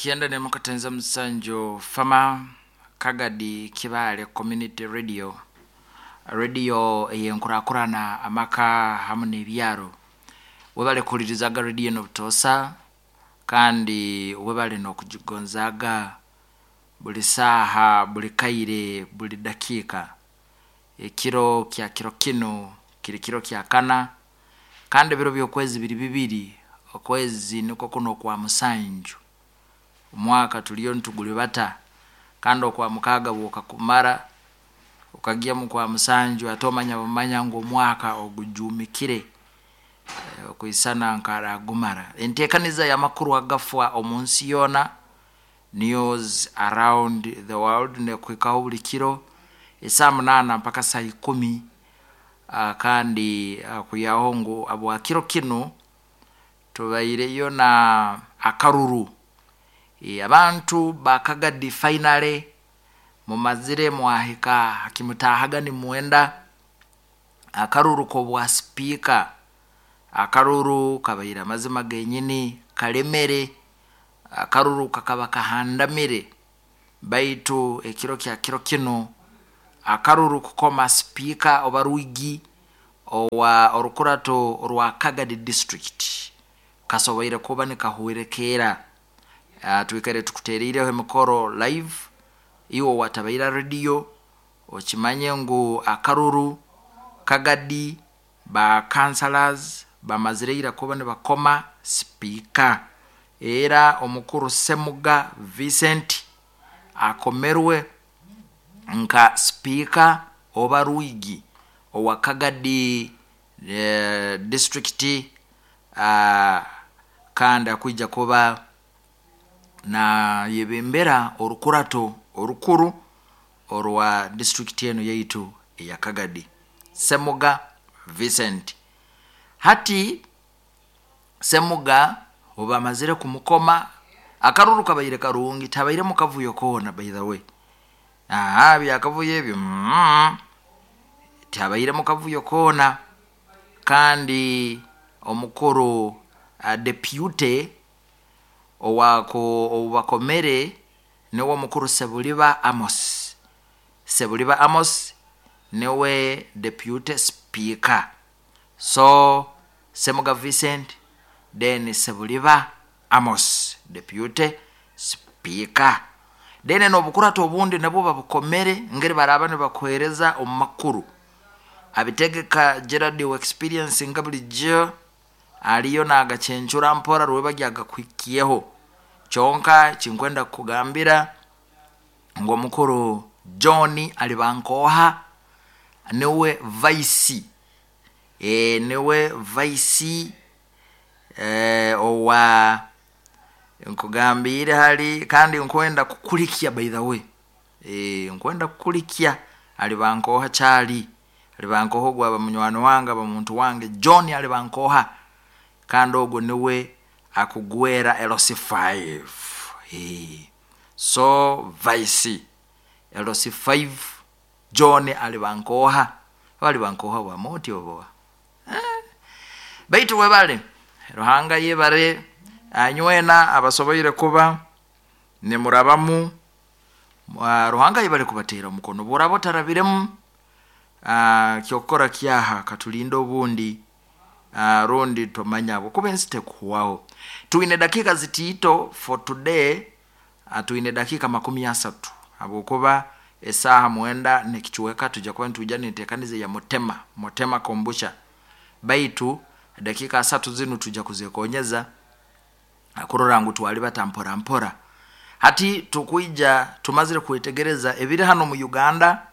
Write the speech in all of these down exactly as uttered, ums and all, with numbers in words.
Kyenda nemukatenza musanju Fama Kagadi Kibaale Community Radio, radio eyenkurakurana amaka hamu n'ebyaro. Webale kuhulirizaga radio eno butoosa, kandi webale n'okugigonzaaga buli saaha, buli kaire, buli dakiika. Ekiro kya kiro kinu kiri kiro kya kana, kandi ebiro by'okwezi biri bibiri, okwezi nikwo kuno okwa musanju. Omwaka tuliyo nitugulibata, kandi okwa mukaaga bwokakumara okagya mu kwa musanju, ate omanya bumanya ngu omwaka ogujuumikire okwisana nkaragumara. Enteekaniza y'amakuru agafwa omu nsi yoona, news around the world, nekuhikaho buli kiro esaaha munaana mpaka saa ikumi. uh, kandi uh, kwihaho ngu abwa kiro kinu tubaireyo na akaruru. E, abantu bakagadi finally mumazire mwahika hakimutahaga nimwenda akaruru k'obwa sipiika. Akaruru kabaire amazima genyini kalemere, akaruru kakaba kahandamire, baitu ekiro kya kiro kinu akaruru kukoma sipiika oba rwigi owa orukurato orwa Kagadi district kasoboire kuba nikahwerekeera. Uh, twikaire tukuteriireho emikoro live. Iwe watabaira radio okimanye ngu akaruru Kagadi ba councillors bamazire ira kuba nibakoma sipiika, era omukuru Semuga Vincent akomerwe nka sipiika oba rwigi owa Kagadi eh, district, uh, kandi akwija kuba nayebembera orukurato orukuru orwa district enu yaitu eya Kagadi. Semuga Vincent, hati Semuga obamazire kumukoma, akaruru kabaire karungi, tabaire mukavuyo koona. By the way, aha byakavuyo ebyo mm, tabaire mukavuyo koona. Kandi omukuru uh, deputy owako obubakomere niwe omukuru Sebuliba Amos. Sebuliba Amos niwe deputy speaker. So Semuga Vincent, then Sebuliba Amos deputy speaker. Then n'obukurato obundi nabwo babukomere, ngeri baraba nibakuhereza omu makuru abitegeka Gerard wa experience nga bulijjo aliyo nagacencura mpora rweba ryagakuhikiyeho. Kyonka kinkwenda kukugambira ngu omukuru John Alibankoha niwe vice, e, niwe vice e, owa nkugambire hali, kandi nkwenda kukulikya by the way, e, nkwenda kukulikya Alibankoha kyali Alibankoha ogwo aba munywani wange, aba muntu wange John Alibankoha, kandi ogwo niwe akugwera L C five. E, so vice L C five John Alibankoha. Alibankoha wa moti obo eh. Baitu webale Ruhanga yebare anywena abasoboire kuba nimurabamu. Ruhanga yebare kubatera omukono burabo tarabiremu. Uh, kyokora kyaha katulinda obundi uh, rundi tomanya kuba ensi tekuhwaho. Tuine dakika zitiito for today, uh, tuine dakika makumi asatu habwokuba esaha mwenda nekichweka tuja kuba nituja nenteekaniza ya mutema mutema kombucha, baitu dakika asatu zinu tuja kuzekonyeza kurora ngu twali batampora mpora. Hati tukwija tumazire kwetegereza ebiri hano mu Uganda.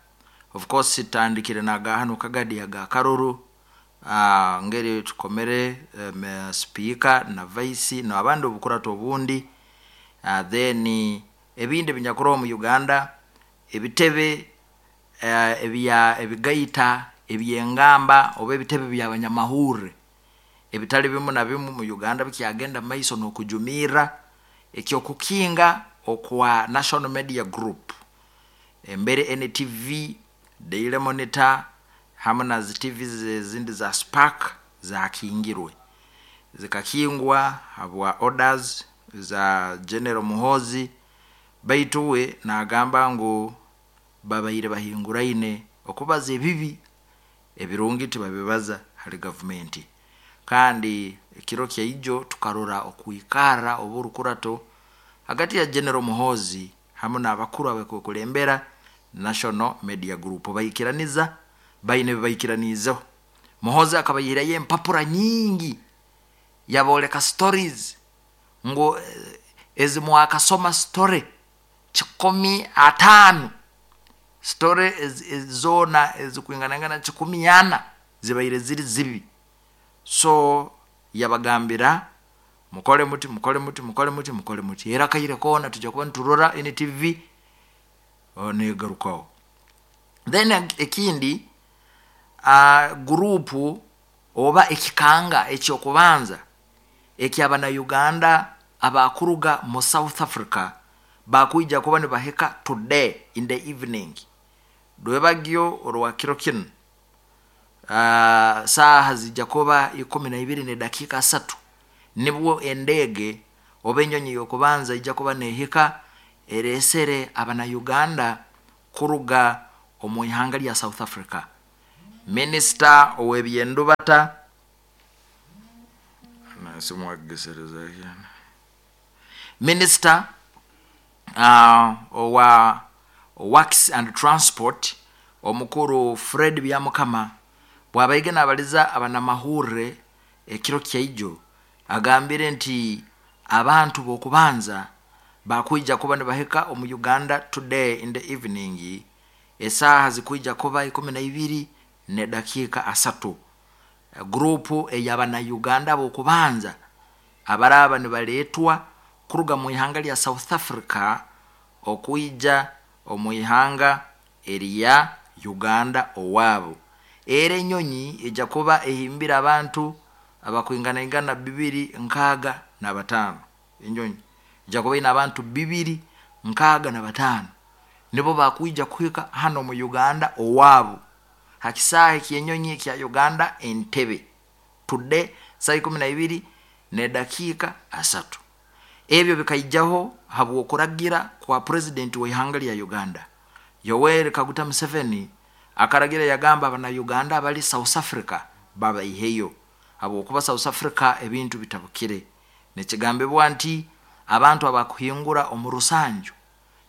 Of course tandikire naga hano Kagadi aga karuru, uh, ngeri tukomere um, speaker na vice na abandi obukurato obundi, uh, then ebindi binyakuro mu Uganda ebitebe uh, ebya ebigaita ebyengamba oba ebitebe by'abanyamahurre ebitali bimu na bimu mu Uganda bikyagenda maiso n'okujumira ekyokukinga okwa National Media Group, embere N T V, Daily Monitor hamu na zi T V zindi za Spark zakingirwe, zikakingwa habwa orders za General Muhoozi, baitu we nagamba ngu babaire bahinguraine okubaza ebibi, ebirungi tibabibaza hali gavumenti. Kandi ekiro kyaijo tukarora okuikara oburukurato hagati ya General Muhoozi hamu n'abakuru abakukulembera National Media Group, baikiraniza baine bibaikiraniizeho. Muhoozi akabaihirayo empapura nyingi yabooleka stories ngu ezi mwakasoma story kikumi ataano, story zoona ezikwinganaingana kikumi ana zibaire ziri zibi. So yabagambira mukole muti, mukole muti, mukole muti, mukole muti, era kaire koona tujja kuba niturora N T V negarukaho. Then ekindi uh, gurupu oba ekikanga ekyokubanza ekyabana Uganda abakuruga mu South Africa bakuija kuba nibahika today in the evening rwebagyo orwa kiro kinu uh, saaha zijja kuba ikumi na ibiri ne dakika asatu nibwo endege oba enyonyi yokubanza ijja kuba nehika eresere abana Uganda kuruga omu ihanga lya South Africa. Minister ow'ebyendubata Minister uh, owa Works and Transport omukuru Fred Byamukama bwabaige nabaliza abanamahurre ekiro kyaijo agambire nti abantu bokubanza bakuija kuba nibahika omu Uganda today in the evening esaha zikuija kuba ikumi na ibiri ne dakika asatu. Grupu eyabana Uganda bokubanza abaraba nibaletwa kuruga mu ihanga lya South Africa okuija omu ihanga erya Uganda owabo. Era enyonyi ejja kuba ehimbira abantu abakwinganaingana bibiri nkaaga na bataano. Enyonyi ejja kuba ina abantu bibiri nkaaga na bataano nibo bakuija kuhika hano mu Uganda owabo hakisaha eky'enyonyi ekya Uganda Entebbe today saa ikumi na ibiri ne dakika asatu. Ebyo bikaijaho habw'okuragira kwa president wa ihanga lya Uganda Yoweri Kaguta Museveni. Akaragira yagamba abana Uganda abali South Africa babaiheyo habwokuba South Africa ebintu bitabukire. Nekigambibwa nti abantu abakuhingura omu rusanju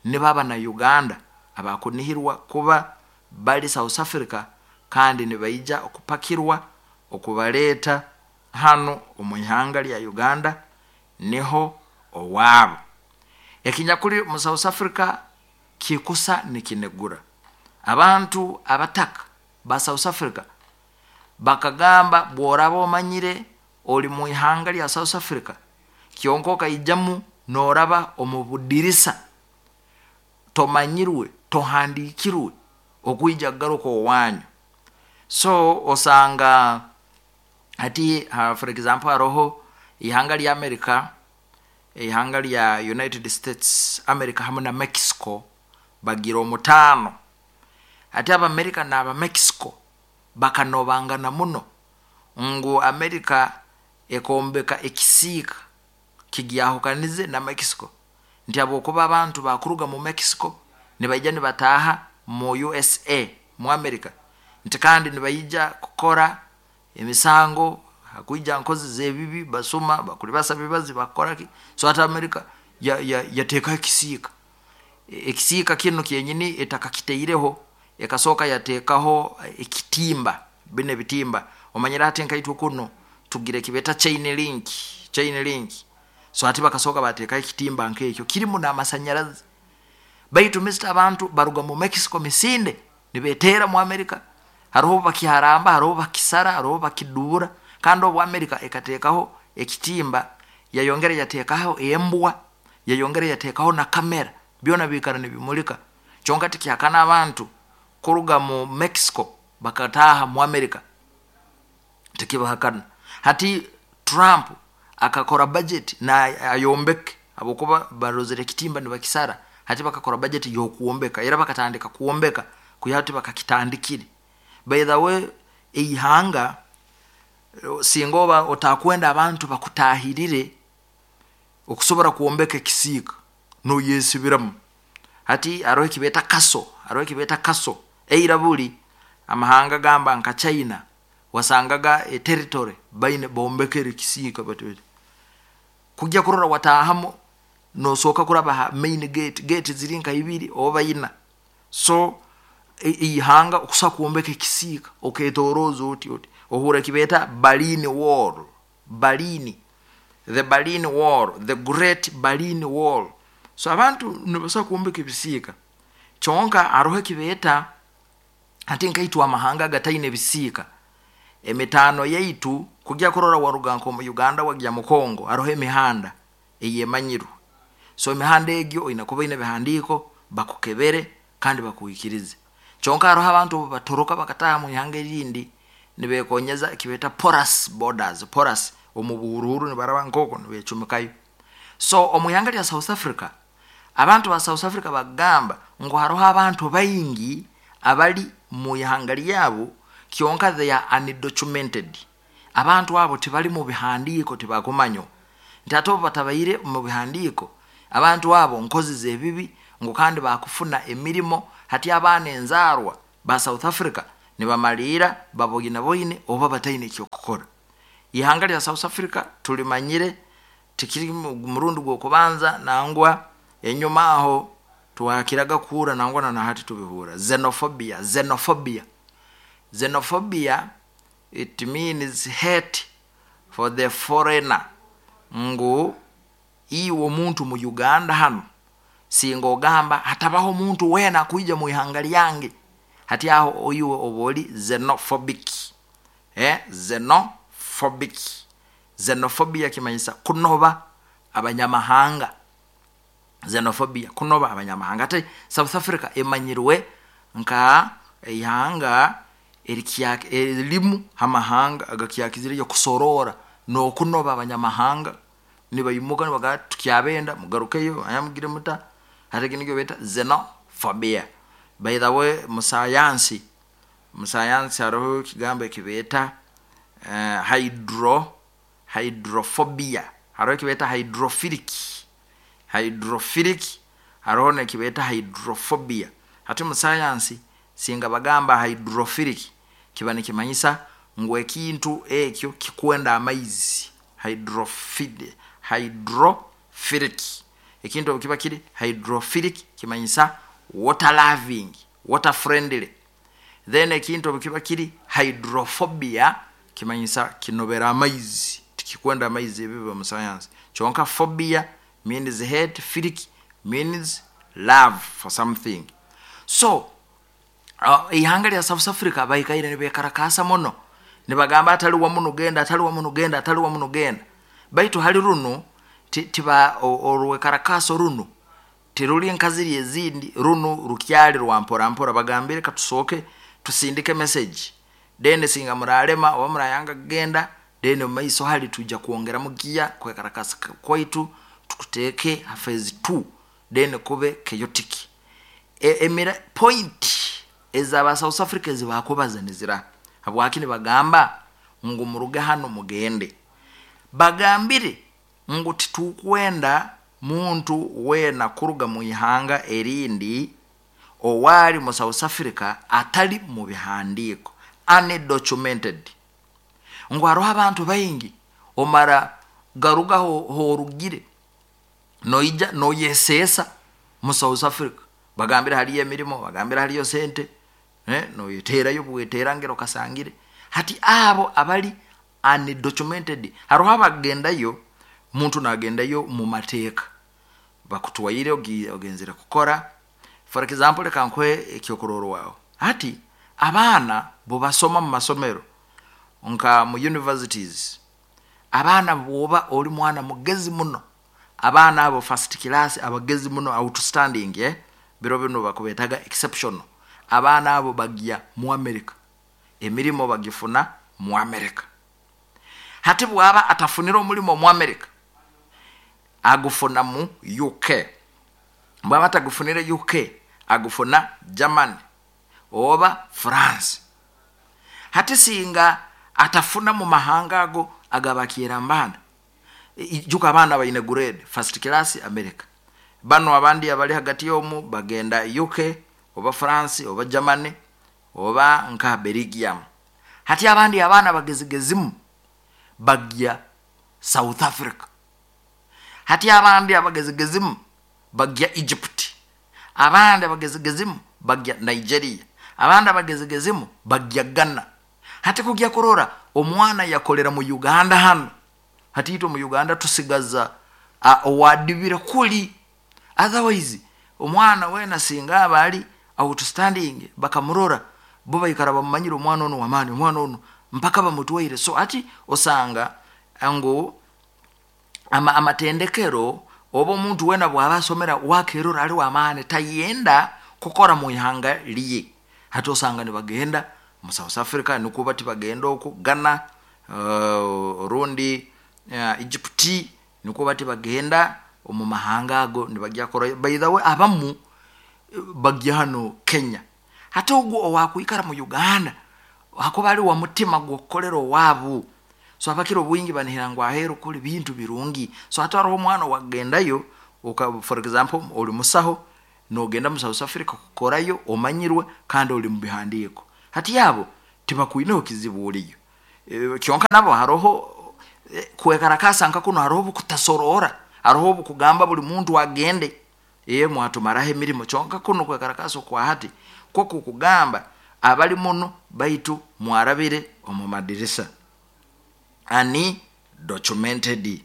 nibo abana Uganda abakunihirwa kuba bali South Africa kandi nibaija okupakirwa okubaleta hano omu ihanga lya Uganda niho owabo. Ekinyakuli mu South Africa kikusa nikinegura. Abantu abataka ba South Africa bakagamba bworaba omanyire oli mu ihanga lya South Africa kyonka okaijamu noraba omu budirisa tomanyirwe tohandikirwe okuija kugaruka owanyu. So osanga ati uh, for example haroho ihanga lya America, ihanga lya United States America hamu na Mexico bagira omutaano. Ati Abamerika n'aba Mexico bakanobangana muno ngu Amerika ekombeka ekisiika kigyahukanize na Mexico nti habwokuba abantu bakuruga mu Mexico nibaija nibataaha mu U S A mu Amerika nti kandi nibaija kukora emisango hakuija nkozi z'ebibi basuma bakuli basaba bibazi bakora ki. So ati Amerika yateekaho ya, ekisiika. Ekisiika kino kyenyini etakakiteireho ekasooka yateekaho ekitimba bine bitimba omanyira ati nkaitwe kuno tugire kibeta chain link, chain link. So ati bakasooka bateekaho ekitimba nk'ekyo kirimu n'amasanyarazi. Baitu mister abantu baruga mu Mexico misinde nibeteera mu Amerika hariho bakiharamba hariho bakisara hariho bakidubura. Kandi obu Amerika ekateekaho ekitimba yayongera yateekaho embwa yayongera yateekaho na kamera byona bikara nibimulika. Kyonka tikihakana abantu kuruga mu Mexico bakataaha mu Amerika tikibahakana. Hati Trump akakora budget na ayombeke habwokuba barozere ekitimba nibakisara. Hati bakakora budget y'okuombeka era bakatandika kuombeka kuyati bakakitandikire. By the way eihanga singa oba otakwenda abantu bakutahirire Okusobora kwombeka ekisiika noyesibiramu. Hati haroho ekibeeta kaso, haroho ekibeeta kaso. Eira buli amahanga gamba nka China, wasangaga eterritory baine bombekere ekisiika bati bati kujya kurora watahamu nosooka kuraba ha main gate, gate ziri nka ibiri oba ina. So ihanga okusobola kwombeka ekisiika oketoroza oti oti ohura ekibeeta Berlin Wall, Berlin, the Berlin Wall, the Great Berlin Wall. So abantu nibasobola kwombeka ebisiika. Kyonka haroho ekibeeta hati nkaitwe amahanga agataine ebisiika, emitaano yaitu kujya kurora waruga nkomu Uganda wagya mu Congo, haroho emihanda eyemanyirwe. So emihanda egyo oine kuba oine ebihandiiko, bakukebere kandi bakwikirize. Kyonka haroho abantu obu batoroka bakataaha mu ihanga erindi nibekonyeza ekibeeta porous borders, porous omu buhuruhuru nibaraba nkoko nibecumikayo. So omu ihanga lya South Africa, abantu ba South Africa bagamba ngu haroho abantu baingi abali mu ihanga lyabo kyonka they are undocumented. Abantu abo tibali mu bihandiiko, tibakumanywa. Nti ate obu batabaire mu bihandiiko, abantu abo nkozi z'ebibi, ngu kandi bakufuna emirimo. Hati abaana enzaarwa ba South Africa nibamaliira baboinaboine oba bataine ekyokukora. Ihanga lya South Africa tulimanyire, tikiri murundi gw'okubanza, nangwa enyuma aho twakiraga kuhura, nangwa na nahati tubihura. Xenophobia, xenophobia, xenophobia, it means hate for the foreigner. Ngu iwe omuntu mu Uganda hano singa ogamba hatabaho omuntu weena akwija mu ihanga lyange, hati aho iwe oba oli xenophobic. eh xenophobic xenophobia kimanyisa kunoba abanyamahanga. Xenophobia, kunoba abanyamahanga. Ate South Africa emanyirwe nka ihanga erimu hamahanga agakyakizireyo kusorora n'okunoba abanyamahanga, nibaimuka nibagaa tukyabenda mugarukeyo ayamugire muta. Hati eki nikyo beeta xenophobia. By the way, musayansi musayansi haroho ekigambo ekibeeta uh, hydro hydrophobia, haroho ekibeeta hydrophilic, hydrophilic, haroho nekibeeta hydrophobia. Hati musayansi singa bagamba hydrophilic kiba nikimanyisa ngu ekintu ekyo kikwenda amaizi. Hydrophilic, hydrophilic, ekintu obu kiba kiri hydrophilic kimanyisa water loving, water friendly. Then ekintu obu kiba kiri hydrophobia kimanyisa kinobera amaizi, tikikwenda amaizi. Ebiba mu science. Kyonka phobia means hate, philic means love for something. So uh, ihanga lya South Africa baikaire nibekarakasa muno, nibagamba atali wamuno genda, atali wamuno genda, atali wamuno genda. Baitu hali runu tiba orwekarakaso runu tiruli nkaziri ezindi, runu rukyali rwa mpora mpora. Bagambire katusooke tusindike message, then singa muralema oba murayanga kugenda, then mumaiso hali tuja kwongeramu giya kwekarakasa kwaitu tukuteeke ha phase two, then kube chaotic. E, emira point ezaba South Africa ezibakubaza nizira habwaki nibagamba ngu muruge hano mugende. Bagambire ngu titukwenda muntu weena kuruga mu ihanga erindi owali mu South Africa atali mu bihandiiko, undocumented. Ngu hariho abantu baingi omara garuga horugire noija noyesesa mu South Africa. Bagambire haliyo emirimo, bagambire haliyo sente, eh, noyeterayo bweterangiro kasangire. Hati abo abali undocumented, hariho abagendayo, muntu nagendayo mu mateeka bakutwaire ogenzere kukora. For example, reka nkuhe ekyokurorwaho. Hati abaana bobasoma mu masomero nka mu universities, abaana bwoba oli mwana mugezi muno, abaana abo first class abagezi muno, outstanding, eh? Biro bino bakubetaga exceptional. Abaana abo bagya mu America, emirimo bagifuna mu America. Hati bwaba atafunira omulimo mu America, agufuna mu U K. Bwaba atagufunire U K, agufuna Germany oba France. Hati singa atafuna mu mahanga ago agabakiira mbanda, Ijuka abaana baine grade first class America, bano abandi abali hagati y'omu bagenda U K oba France oba Germany oba nka Belgium. Hati abandi abaana bagezigezimu bagya South Africa. Hati abandi abagezigezimu bagya Egypt. Abandi abagezigezimu bagya Nigeria. Abandi abagezigezimu bagya Ghana. Hati kugya kurora omwana yakolera mu Uganda hano. Hati itwe mu Uganda tusigaza owadibira kuli. Otherwise omwana wena singa abali outstanding bakamurora bo baikara bamumanyira omwana ono wamani, omwana ono mpaka bamutwaire. So ati osanga ngo ama, amatendekero oba omuntu wena bwaba asomera wakerora ali wamani tayenda kukora mu ihanga liye. Hati osanga nibagenda mu South Africa, nikuba tibagenda oku Ghana, uh, rundi uh, Egypt, nikuba tibagenda omu mahanga ago nibajya kora. By the way abamu bagya hano Kenya. Hati ogwo owakwikara mu Uganda hakuba ali wa mutima gwokukolera owabu. So abakiro bwingi banihira ngu aheru kuli bintu birungi. So hata hariho omwana wagendayo, uka, for example oli musaho nogenda mu South Africa kukorayo omanyirwe kandi oli mu bihandiiko. Hati yabo tibakwineho kizibu oliyo. E, kyonka nabo haroho e, kwekarakasa nka kuno haroho kutasorora, haroho kugamba buli muntu agende ye mwatumaraho emirimo. Kyonka kuno kwekarakasa kwa hati kwo kukugamba abali muno baitu mwarabire omu madirisa ani documented.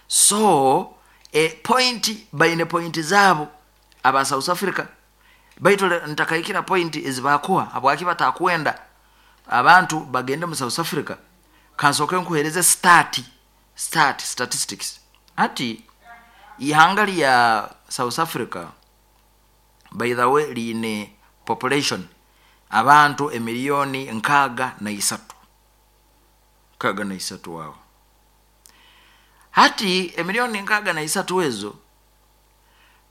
So e point baine point zabo aba South Africa baitu ntakaikira point ezibakuwa abwaki batakwenda abantu bagende mu South Africa. Kansoke nkuhereze stat stat statistics. Ati ihanga lya South Africa by the way line population abantu emiliyoni nkaga na isatu, nkaga na isatu wao. Hati emiliyoni nkaga na isatu ezo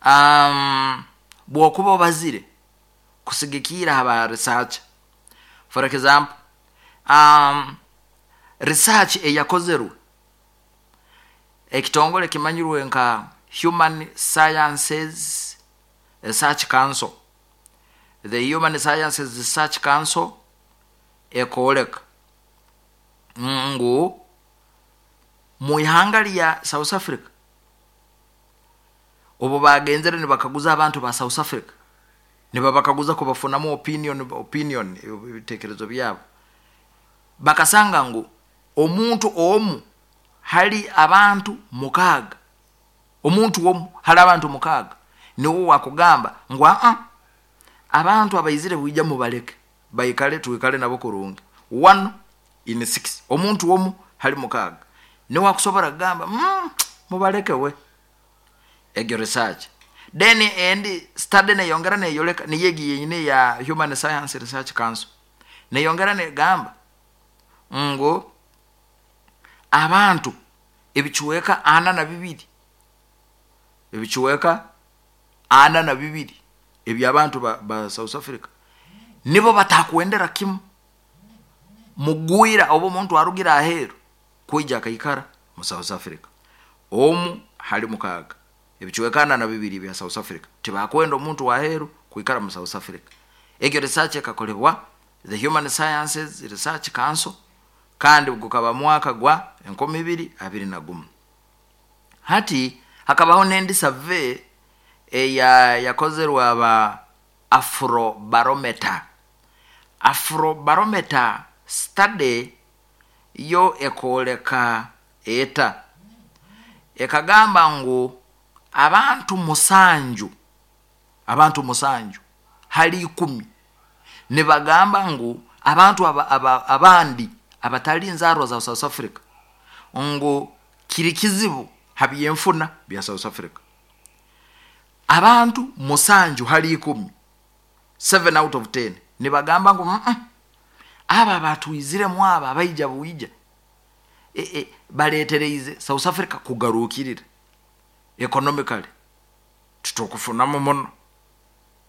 um, bwokuba bazire kusigikira haba research. For example um, research eyakozerwe ekitongole kimanyirwe nka Human Sciences Research Council, the Human Sciences Research Council ekoleka ngu mu ihanga lya South Africa obo bagenzere nibakaguza abantu ba South Africa, nibabakaguza kubafunamu opinion opinion ebitekerezo byabo, bakasanga ngu omuntu omu hali abantu mukaga, omuntu omu hali abantu mukaga niwo wakugamba ngu a abantu abaizire buija mubaleke baikale tuikale nabo kurungi. One in six, omuntu omu hali mukaga niwo akusobora kugamba mm, mubaleke we. Egyo research then and study neyongera neyoleka niyegi yenyine ya Human Science Research Council neyongera negamba ngo abantu ebicuweka ana na bibiri, ebicuweka ana na bibiri ebyabantu ba, ba South Africa nibo batakwendera kimu mugwira obo omuntu arugira aheru kuija akaikara mu South Africa. Omu hali mukaga ebicuweka ana na bibiri bya South Africa tibakwenda omuntu waheru kuikara mu South Africa. Egyo research ekakolebwa the Human Sciences Research Council kandi gukaba mwaka gwa enkumi ibiri abiri na gumu. Hati hakabaho nendi survey eya yakozerwa aba Afrobarometer. Afrobarometer study yo ekoleka eta ekagamba ngu abantu musanju, abantu musanju hali ikumi nibagamba ngu abantu aba, aba, abandi abatali nzarwa za South Africa ngu kiri kizibu habyenfuna bya South Africa. Abantu musanju hali ikumi, seven out of ten nibagamba ngu mm -mm, aba batuizire mwaba abaija buija e, e, baletereize South Africa kugarukirira economically tutokufunamu muno,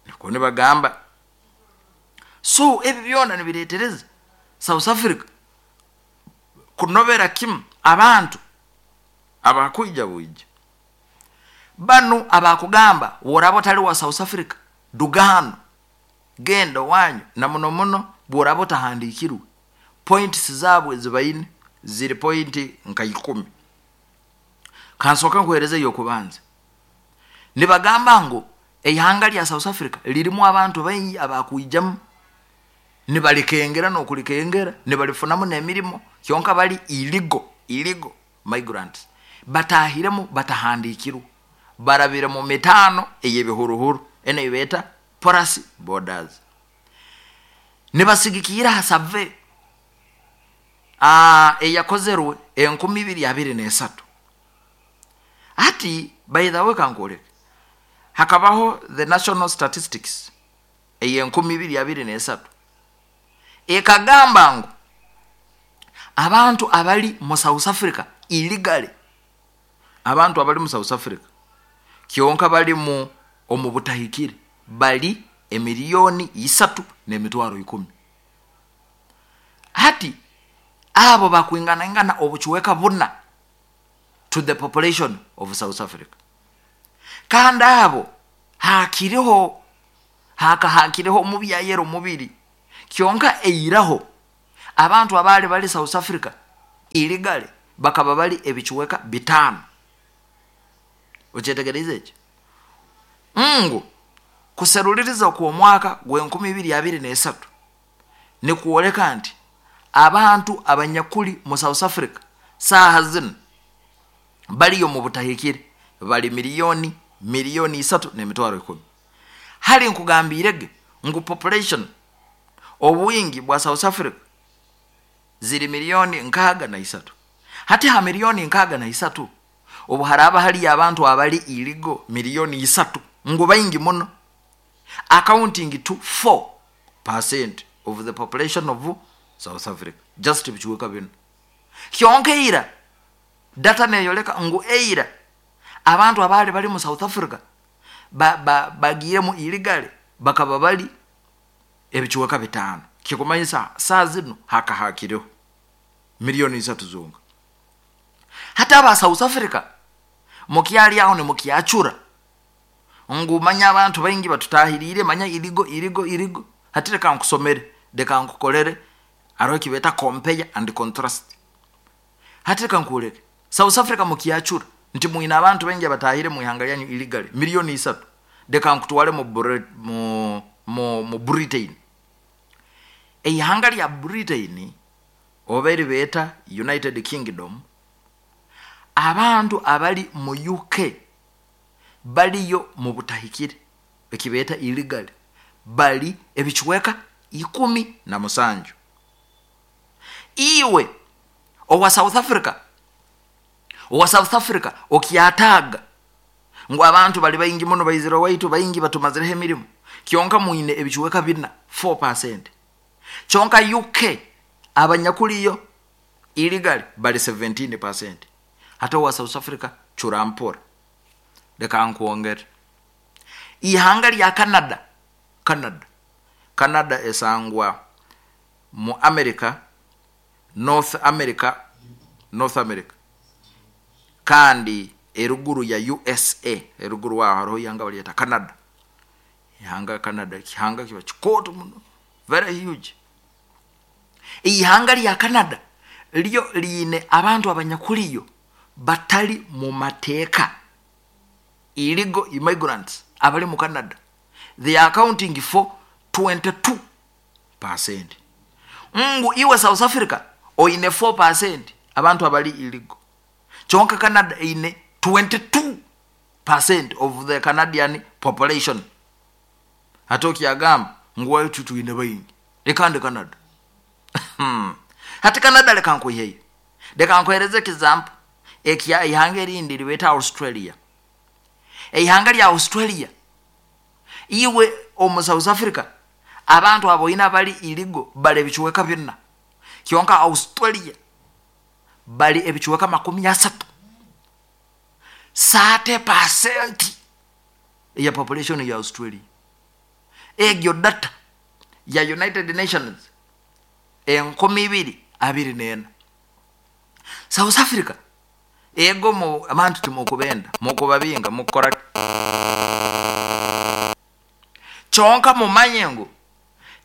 niko nibagamba. So ebi byona nibiretereza South Africa kunobera kimu abantu Abakwija bwija banu abakugamba woraba otali wa South Africa, dugano genda wanyu, na muno muno bworaba otahandikirwe. Points zaabwe zibaine ziri point nka ikumi. Kansooka nkuhereze yokubanza. Nibagamba ngu eihanga lya South Africa lirimu abantu baingi abakwijamu, nibalikengera nokulikengera, nibalifunamu nemirimo, kyonka bali illegal, illegal migrants, batahiremu batahandikirwe, barabire mu mitano ey'ebihuruhuru eno ebeeta porous borders. Nibasigikira ha survey eyakozerwe enkumi ibiri abiri n'esatu. Hati by the way, kankwoleke, hakabaho the national statistics ey'enkumi ibiri abiri n'esatu ekagamba ngu abantu abali mu South Africa illegally, abantu abali mu South Africa kyonka bali mu omu butahikire, bali emiliyoni isatu n'emitwaro ikumi. Hati abo bakwinganaingana obucweka buna to the population of South Africa. Kandi abo hakiriho haka hakiriho omubyayero mubiri kyonka eiraho abantu abali bali South Africa illegally bakaba bali ebicuweka bitano. Okyetegereza ekyo ngu kuseruliriza kw'omwaka gw'enkumi ibiri abiri n'esatu nikuoleka nti abantu abanyakuli mu South Africa saaha zino baliyo mu butahikire bali miliyoni miliyoni isatu n'emitwaro ikumi. Hali nkugambirege ngu population obwingi bwa South Africa ziri miliyoni nkaaga na isatu. Hati ha miliyoni nkaaga na isatu obu haraba hali abantu abali illegal miliyoni isatu, ngu baingi muno, accounting to four percent of the population of South Africa, just bikiweka bino kyonka. Eira data neyoleka ngu eira abantu abali bali mu South Africa bagiremu ba, illegally bakaba bali ebikiweka bitano. Kikumanyisa saa zino hakahakireho miliyoni isatu zonka. Hata aba South Africa mukyali aho nimukyacura ngu manya abantu baingi batutahirire, manya illegal illegal illegal. Hati reka nkusomere, reka nkukolere aroho kibeta compare and contrast. Hati reka nkureke, South Africa mukyacura nti mwina abantu baingi abatahire mu ihanga lyanyu illegally miliyoni isatu, reka nkutwale mu, mu, mu, mu Britain. Eihanga lya Britain oba eribeta United Kingdom, abantu abali mu U K baliyo mu butahikire ekibeta illegal bali ebichweka ikumi na musanju. Iwe owa South Africa, owa South Africa okyataga ngu abantu bali baingi muno baizira waitu baingi batumazireho emirimu, kyonka mwine ebichweka bina four percent. Kyonka U K abanyakuliyo illegal bali seventeen percent. Hata wa South Africa churampora. Leka nkuongere ihanga lya Canada, Canada Canada esangwa mu America, North America, North America kandi eruguru ya U S A, eruguru wa hariho ihanga baliyeta Canada. Ihanga Canada kihanga kiba kikoto muno, very huge. Ihanga lya Canada lyo line abantu abanyakuliyo batali mu mateeka, illegal immigrants abali mu Canada, they are accounting for twenty-two percent. Ngu iwe South Africa oine four percent abantu abali illegal, kyonka Canada ine twenty-two percent of the Canadian population. Hatoki agamba ngu waitu tuine baingi lekande Canada. Hati Canada leka nkuiheyo, leka nkuhereze example ekya ihanga erindi libeta Australia. Ihanga lya Australia iwe omu South Africa abantu abo ina bali illegal bali ebichweka bina, kyonka Australia bali ebichweka makumi asatu, thirty percent ya population ya Australia. Egyo data ya United Nations enkumi ibiri abiri nena. South Africa Ego mu abantu timukubenda, mukubabinga, mukora kyonka mumanye ngu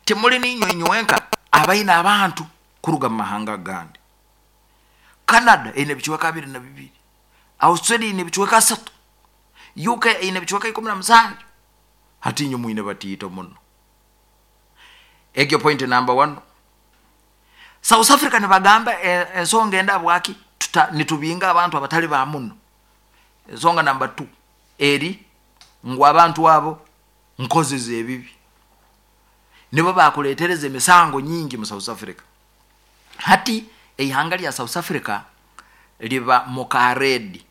timuli ninywe inywenka abaina abantu kuruga mu mahanga gandi. Canada eine ebicweka abiri na bibiri, Australia eine ebicweka asatu, U K eine ebicweka ikumi na musanju. Hati inywe mwine batiito muno. Egyo point number one. South Africa nibagamba ensonga enda bwaki nitubinga abantu abatali ba muno. Ensonga number two eri ngu abantu abo nkozi z'ebibi nibo bakuletereza emisango nyingi mu South Africa. Hati eihanga lya South Africa liba mukaredi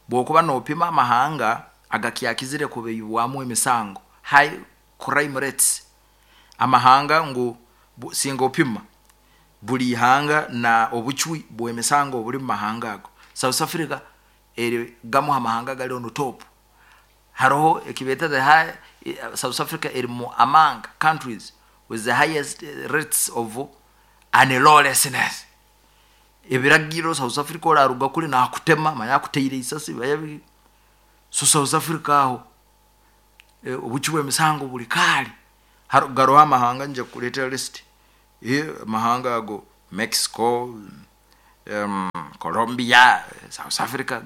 bwokuba nopima amahanga agakyakizire kubeyibwamu emisango, high crime rates, amahanga ngu singa opima buli ihanga na obucwi bw'emisango obuli mu mahanga ago, South Africa eri gamu amahanga gali on top. Haroho ekibeta the high South Africa eri mu among countries with the highest rates of unlawlessness. Ebiragiro South Africa oraruga kuli nakutema manya akuteire isasi bayabi. So South Africa aho e, obucwi bw'emisango buli kali. Garoho amahanga nje kuleetera list. E, amahanga ago Mexico, um, Colombia, South Africa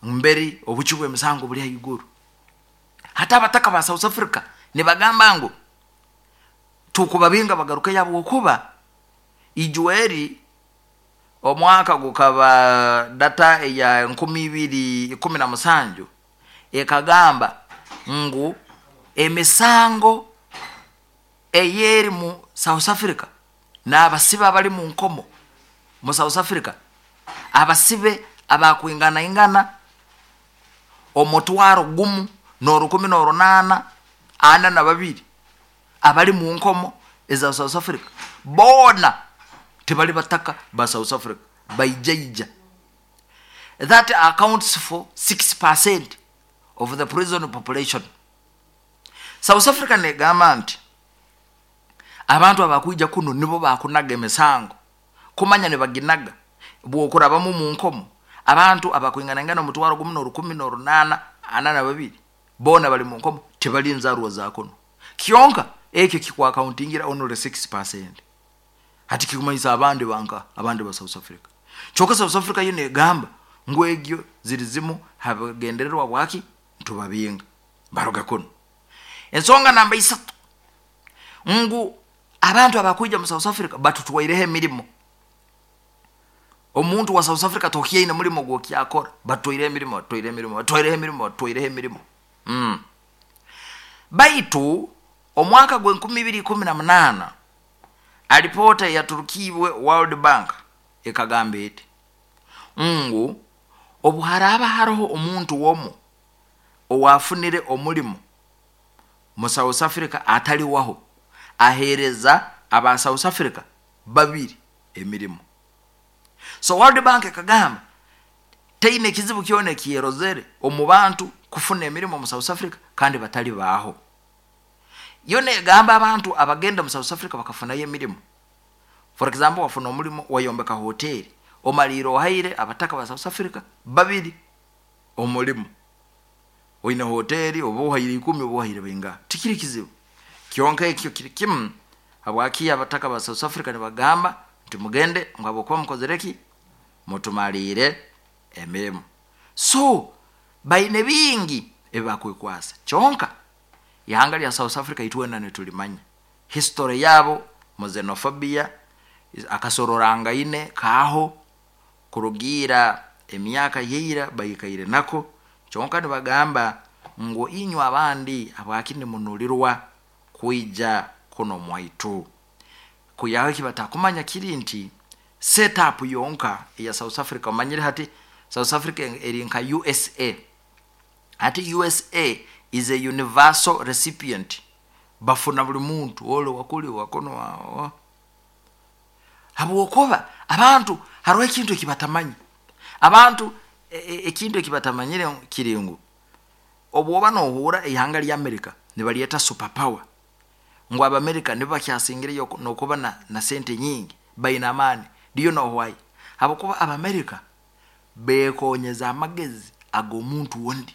mberi obucwi bw'emisango buli haiguru. Hata abataka ba South Africa nibagamba ngu tukubabinga bagaruke yabo okuba ijweri omwaka gukaba data ya nkumi ibiri ikumi na musanju ekagamba ngu emisango eyeri mu South Africa n'abasibe abali mu nkomo mu South Africa, abasibe abakwingana ingana omutwaro gumu n'orukumi n'orunana ana na babiri abali mu nkomo eza South Africa bona tebali bataka ba South Africa baijaija. That accounts for six percent of the prison population. South Africa negamba nti abantu abakwija kuno nibo bakunaga emisango kumanya ne baginaga bwokurabamu mu nkomo abantu abakwingana ingana omutwaro gumu n'orukumi n'orunana ana na babiri bona bali mu nkomo tebali nzarwa za kuno. Kyonka ekyo kikwa accountingira only six percent. Hati kikumanyisa abandi banka abandi ba South Africa. Kyonka South Africa yo negamba ngu egyo ziri zimu habagendererwa bwaki ntubabinga baruga kuno. Ensonga namba isatu ngu abantu abakwija mu South Africa batutwaireho emirimo. Omuntu wa South Africa tokiyaine mulimo gwokyakora, batwaireho emirimo, batwaireho emirimo, batwaireho emirimo, batwaireho emirimo. Mm. Baitu omwaka gwe nkumi ibiri ikumi na munana alipota ya Turkibwe World Bank ekagamba eti ngu obuharaba haroho omuntu womu owafunire omulimo mu South Africa atali waho ahereza aba South Africa babiri emirimo. So World Bank ekagamba teine kizibu kyona kiyerozere omu bantu kufuna emirimo mu South Africa kandi batali baho. Yone egamba abantu abagenda mu South Africa bakafunayo emirimo. For example, wafuna omulimo wayombeka hoteli, omaliro ohaire abataka ba South Africa babiri omulimo. Oine hoteli oba ohaire ikumi oba ohaire bainga. Tikiri kizibu. Kyonka ekyo kiri kimu habwaki abataka ba South Africa nibagamba nti mugende ngabo kuba mukozereki mutumalire emirimo. So baine bingi ebakwekwasa. Kyonka ihanga lya South Africa itwena netulimanya history yabo mu xenophobia akasororanga kaho kurugira emyaka yeira bayikaire nako. Kyonka nibagamba ngo inywa abandi abakini munulirwa kuija kuno mwaitu. Kuyaho kibatakumanya kiri nti setup yonka ya South Africa omanyire hati South Africa eri nka U S A. Hati U S A is a universal recipient. Bafuna buli muntu ole wakuli wakono wa. Habwokuba abantu hariho ekintu ekibatamanyi. Abantu ekintu ekibatamanyire kiri ngu obwoba nohura ihanga lya America nibaliyeta superpower. Ngu Abamerika nibo bakyasingireyo nokuba na, na sente nyingi baina amani. Do you know why? Habwokuba Abamerika Bekonyeza amagezi ag'omuntu ondi,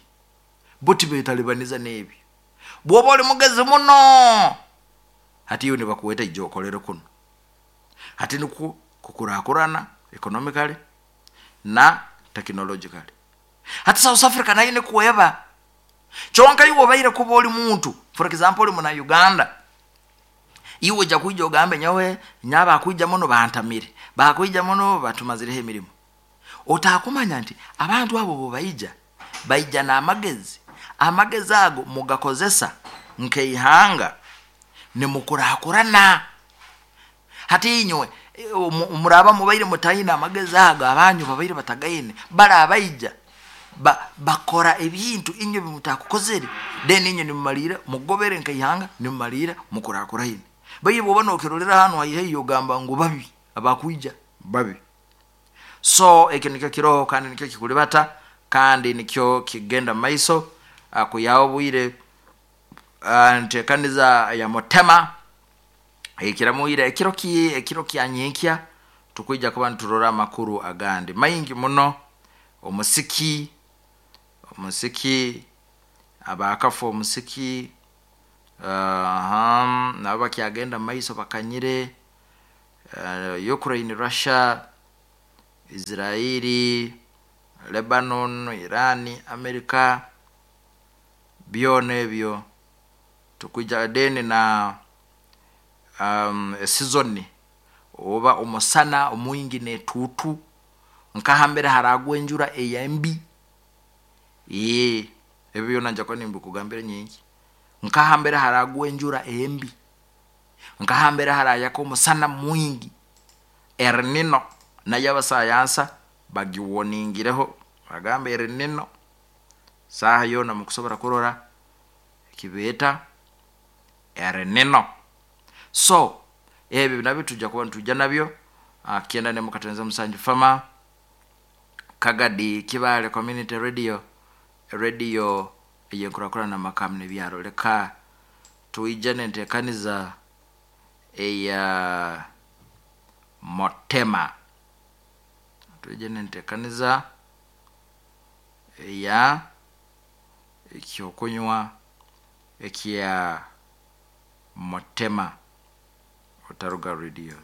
bo tibetalibaniza n'ebyo. Bwoba oli mugezi muno, hati iwe nibakuweta ija okolere kuno, hati nikwo kukurakurana economically na technologically. Hati South Africa nayo nikweba kyonka. Iwe obaire kuba oli muntu, for example oli muna Uganda, iwe ojja kwija ogambe, "Nyowe nyaba akwija muno bantamire, bakwija muno batumazireho emirimu." Otakumanya nti abantu abo bobaija baija n'amagezi, amagezi ago mugakozesa nkeihanga nimukurakurana. Hati inywe muraba mubaire mutaine amagezi ago, abanyu babaire batagaine, bali abaija ba, bakora ebintu inywe bimutakukozere, then inywe nimumalira mugobere nkeihanga, nimumalira mukurakuraine. Baiye bwoba nokirolera hanu haihaihi ogamba ngu babi abakwija babi. So ekyo nikyo kiroho, kandi nikyo kikulibata, kandi nikyo kigenda mumaiso kuyaho obwire. Ntekaniza ya mutema ekiramuire ekiro ki ekiro kya nyenkya, tukwija kuba niturora amakuru agandi maingi muno. Omusiki, omusiki abakafa, omusiki uh, nabo bakyagenda mumaiso bakanyire. uh, Ukraine, Russia, Israeli, Lebanon, Iran, America, byona ebyo tukwija deni na um, season oba omusana omwingi netuutu, nkahambere haragwa enjura eyembi. Ee ebyo byona nja kuba nimbikugambira nyingi. Nkahambere haragwa enjura embi, nkahambere harayaka omusana mwingi, El Nino nayo abasayansa bagiwoningireho, bagamba El Nino saaha yoona mukusobora kurora ekibeeta El Nino. So ebyo nabyo tujja kuba nitujja nabyo. Kyenda nemu katoneza musanju fama Kagadi Kibale Community Radio, radio eyenkurakurana makamu nebyaro. Leka tuija nentekaniza eya motema, tuije nentekaniza eya ekyokunywa ekya motema. Otaruga radio.